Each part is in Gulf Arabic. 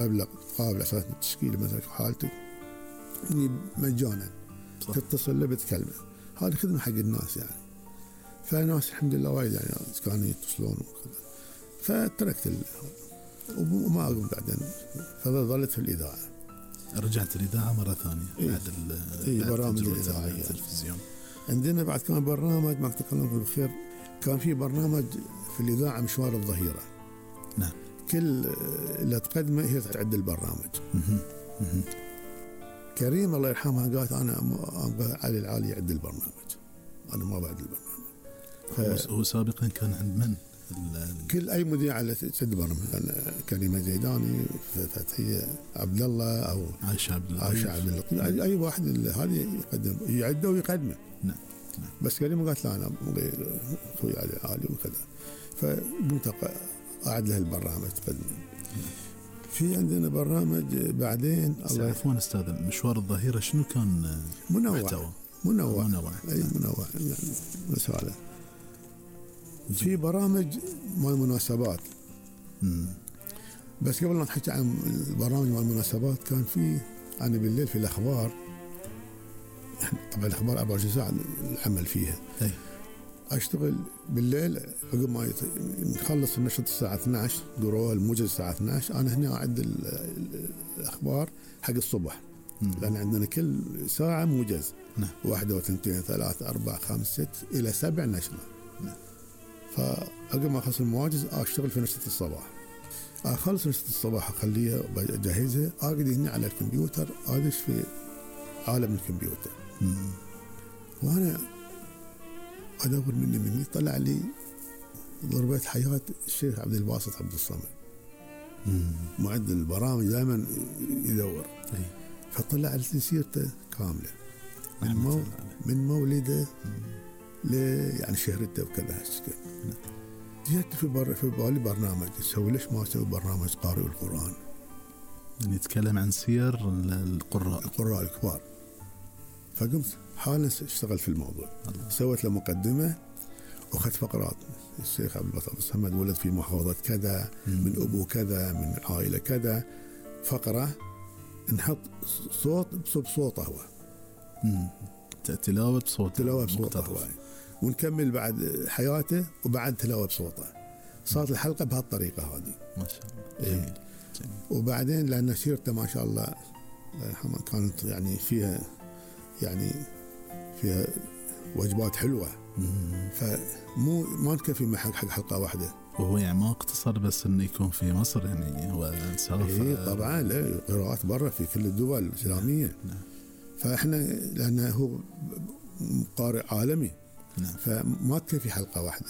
مبلغ قابل أساس التشكيل مثلا حالتك مجانا تتصل له بتكلمه. هذه خدمة حق الناس يعني. فالناس الحمد لله وايد يعني كانوا يتصلون وكذا. فتركت وما أقوم بعدين. فظلت في الإذاعة. رجعت الإذاعة مرة ثانية بعد برامج الإذاعية التلفزيون. عندنا بعد كان برنامج ما تكلم بالخير. كان في برنامج في الإذاعة مشوار الظهيرة. نعم. كل اللي تقدمه هي تعد البرنامج. كريم الله يرحمها قالت أنا علي العالي يعد البرنامج، أنا ما بعد البرنامج. هو سابقا كان عند من؟ كل أي مذيع اللي تسد برنامج، كريمة زيداني، فتحية عبد الله أو عائشة عبد الله، أي واحد هذه يقدم يعده ويقدمه. نعم. بس كريمة قالت لا أنا أخوي علي العالي وكذا. فقمت أعد له البرنامج تقدم. في عندنا برنامج بعدين عفوا أستاذ، مشوار الظهيرة شنو كان محتوى؟ منوع يعني مسألة. في برامج مال مناسبات. بس قبل ما نحكي عن البرامج مال المناسبات كان في أنا بالليل في الأخبار. طبعا الأخبار 24 ساعة العمل فيها. أشتغل بالليل عقب ما نخلص النشرة الساعة 12 قروها الموجز الساعة 12 أنا هنا أعد الأخبار حق الصبح. لأن عندنا كل ساعة موجز. 1 و2 3 4 5 6 إلى 7 نشرة. فعقب ما أخلص المواجز أشتغل في نشرة الصباح. أخلص نشرة الصباح أخليها أجهزها أقعد هنا على الكمبيوتر أدش في عالم الكمبيوتر. وأنا أدور مني طلع لي ضربة حياة الشيخ عبد الباسط عبد الصمد. معد البرامج دائما يدور. فطلع لي سيرته كاملة من مولده يعني شهرته وكذا هالشكل. جيت في بالي برنامج اسوي، ليش ما اسوي برنامج قارئ القرآن يعني يتكلم عن سير القراء الكبار. فقمت حالا اشتغل في الموضوع. سويت له مقدمة واخذت فقرات. الشيخ عبد الباسط الصمد ولد في محافظة كذا، من أبو كذا، من عائلة كذا. فقرة نحط صوت بصوته هو. تلاوة بصوته هو. ونكمل بعد حياته وبعد تلاوة بصوته. صارت الحلقة بهالطريقة هذه. ما شاء الله. جميل. وبعدين لأن سيرته ما شاء الله كانت يعني فيها وجبات حلوة. فمو ما نكفي حق حلقة واحدة. وهو يعني ما اقتصر بس انه يكون في مصر، يعني هو سافر. طبعا لا، قراءات برا في كل الدول الإسلامية. فإحنا لأنه هو قارئ عالمي. فما تكفي حلقة واحدة،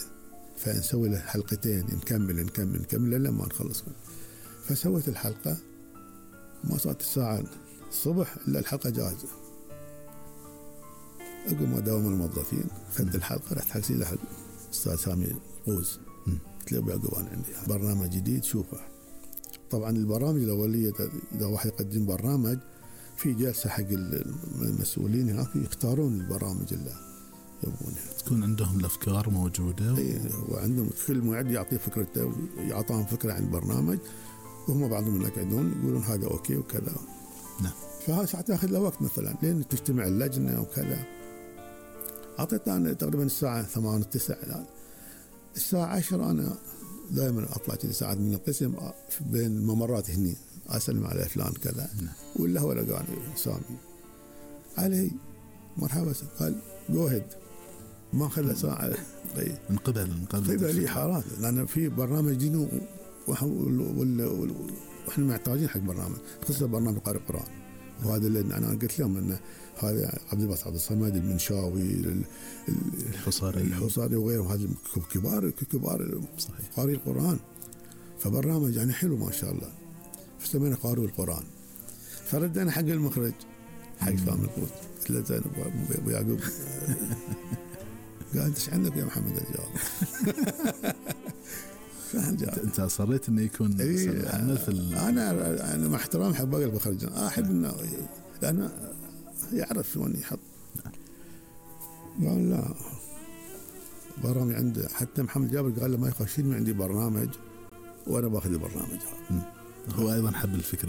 فنسوي له حلقتين نكمل لما ما نخلص. فسويت الحلقة ما صارت الساعة الصبح إلا الحلقة جاهزة. أقوم أداوم الموظفين خدت الحلقة رحت حكسي لها أستاذ سامي قوز. قلت له أبو يعقوب أنا عندي برنامج جديد شوفه. طبعا البرامج الأولية إذا واحد يقدم برنامج في جلسة حق المسؤولين هناك يختارون البرامج اللي يبغونها، تكون عندهم الأفكار موجودة. وعندهم كل معد يعطيه فكرته ويعطاهم فكرة عن البرنامج، وهم بعضهم يقعدون يقولون هذا أوكي وكذا. نعم. فهذا ساعات تأخذ له وقت مثلا لين تجتمع اللجنة وكذا. أعطيت أنا تقريبا الساعة 8 9 الساعة 10 أنا دائما أطلع كذا ساعات من القسم بين الممرات هني أسلم على فلان كذا. ولا هو لقاني سامي علي مرحبا. قال جو هيد. ما خلى ساعة من قبل لي حارات، لأن في برنامج دينو وإحنا محتاجين حق برنامج خصوصا برنامج قارئ القرآن. وهذا اللي أنا قلت لهم أن هذا عبد الباسط عبد الصمد المنشاوي الحصاري وغيرهم، هذا كبار قارئ القرآن. فبرنامج يعني حلو ما شاء الله. فسمينا قارئ القرآن. فردنا حق المخرج حق فهم القوت. قلت له زين أبو يعقوب قال أنت إيش عندك يا محمد الجواب؟ أنت أصريت إنه يكون عمل في أنا مع احترام حق باقي المخرجين أحب إنه لأنه يعرف وين يحط. قال لا برامج عنده. حتى محمد جابر قال له ما يخشين عندي برنامج وأنا باخذ البرنامج هذا. هو أيضا حب الفكرة